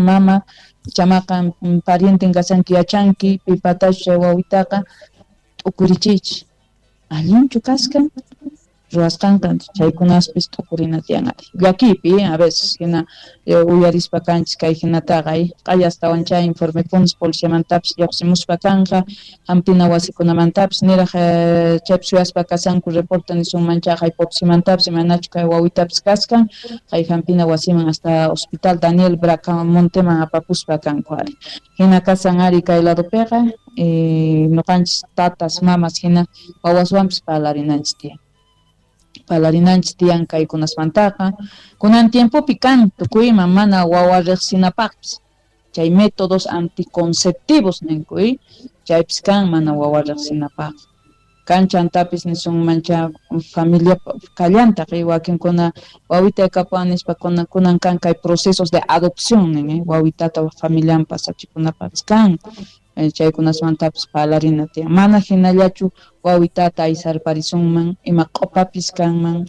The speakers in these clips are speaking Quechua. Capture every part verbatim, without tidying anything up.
mama chamaqa parienten kashanki yachanki pipatachu chay wawitaqa t'ukurichiychis allinchu kaskan ruwasqanqa chaykunaspis t'ukurina tiyan ari llakiypi a veces hina uyarispa kanchis kay hinataqa q'aya astawan chay informekunas policiamantapis lluqsimuspa kanqa hampina wasikunamantapis niraq chaypis suyaspa kashanku reporte nisunman chay Potosímantapis imanachu kay wawitapis kaskan kay hampina wasiman hasta hospital Daniel Bracamonteman apapuspa kanku ari hina kasan ari kay ladopiqa ñuqanchis tatas mamas hina wawaswanpis parlarinanchis tiyan parlarinanchis tiyan kaykunasmantaqa kunan tiempopi kan tukuyman mana wawa riqsinapaqpis chay métodos anticonceptivos ninku chaypis kan mana wawa riqsinapaq kan chantapis nisunman cha familia kallantaq wakinkuna wawita kapuwan nispa kunan kan kay procesos de adopción nin wawitata familian pasachikunapaqpis kan chaykunasmantapis parlarina tiyan mana hinallachu wawitata aysarparisunman ima q'upapis kanman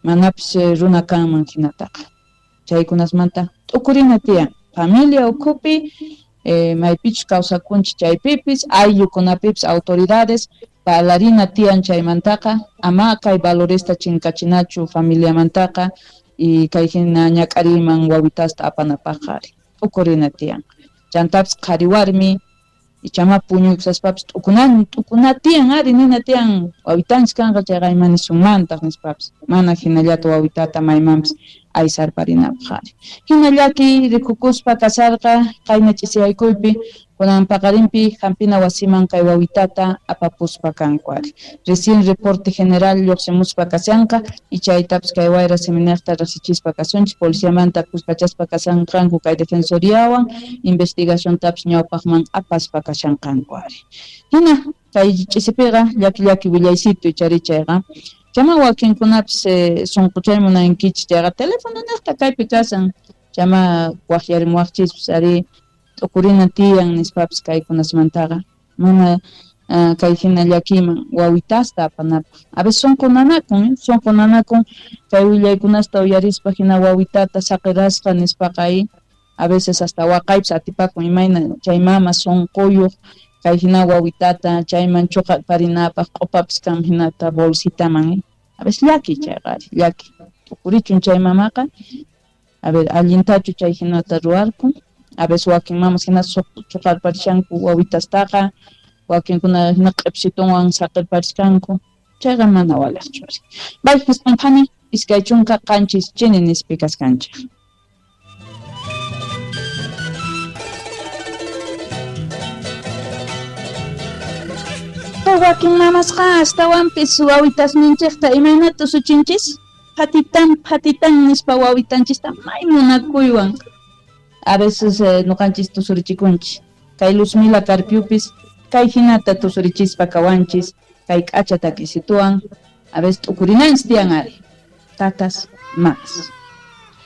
manapis runa kanman hinataqa chaykunasmanta t'ukurina tiyan familia ukhupi maypichus kawsakunchis chaypipis ayllukunapipis autoridades parlarina tiyan chaymantaqa ama kay valoresta chinkachinachu familiamantaqa y kay hina ñak'ariyman wawitasta apanapaqqa ari t'ukurina tiyan chantapis qhari warmi ichama puñuykusaspapis t'ukunan t'ukuna tiyan ari nina tiyan wawitanchis kanqa chayqa ima nisunmantaq nispapis mana hinallata wawitata maymanpis aysarparinapaq ari hina llaki rikukuspa kasarqa qayna ch'isiyaykuypi kunan paqarinpi hampina wasiman kay wawitata apapuspa kanku ari recién reporte general lluqsimuspa kashanqa y chaytapis kay wayra seminarta riqsichispa kasunchis policiamanta kuskachaspa kashanqanku kay defensoriawan investigaciontapis ñawpaqman apaspa kashanqanku ari hina kay ch'isipiqa llaki llaki willaysitu ichari chayqa chama wakinkunapis sunquchay munankichis chayqa teléfono niqta kaypi kasan chama waqyarimuwaqchispis ari t'ukurina tiyan nispapis kaykunasmantaqa mana kay hina llakiyman wawitasta apanapaq a veces sunqu nanakun sunqu nanakun kay willaykunasta uyarispa hina wawitata saqirasqa nispaqa a veces hasta waqaypis atipakun imayna chay mama sunquyuq kay hina wawitata chayman chuqarparinapaq q'upapis kan hinata bolsitaman a veces llaki chayqa ari llaki t'ukurichun chay mamaqa a ver allintachu chay hinata ruwarkun a veces wakin mamas hina chuqarparishanku wawitastaqa wakinkuna hina q'ipsitunwan saqirparishkanku chayqa mana waliqchu ari bay hisqunphani iskay chunka qanchis chini nispi kaskanchik. Wakin mamasqa astawanpis wawitasninchikta imaynata usuchinchis phatitan phatitan nispa wawitanchista may munakuywan a veces ñuqanchis tusurichikunchis kay Luzmila Carpiupis kay hinata tusurichispa kawanchis kay k'acha takisituwan a veces t'ukurinanchis tiyan ari tatas mamas.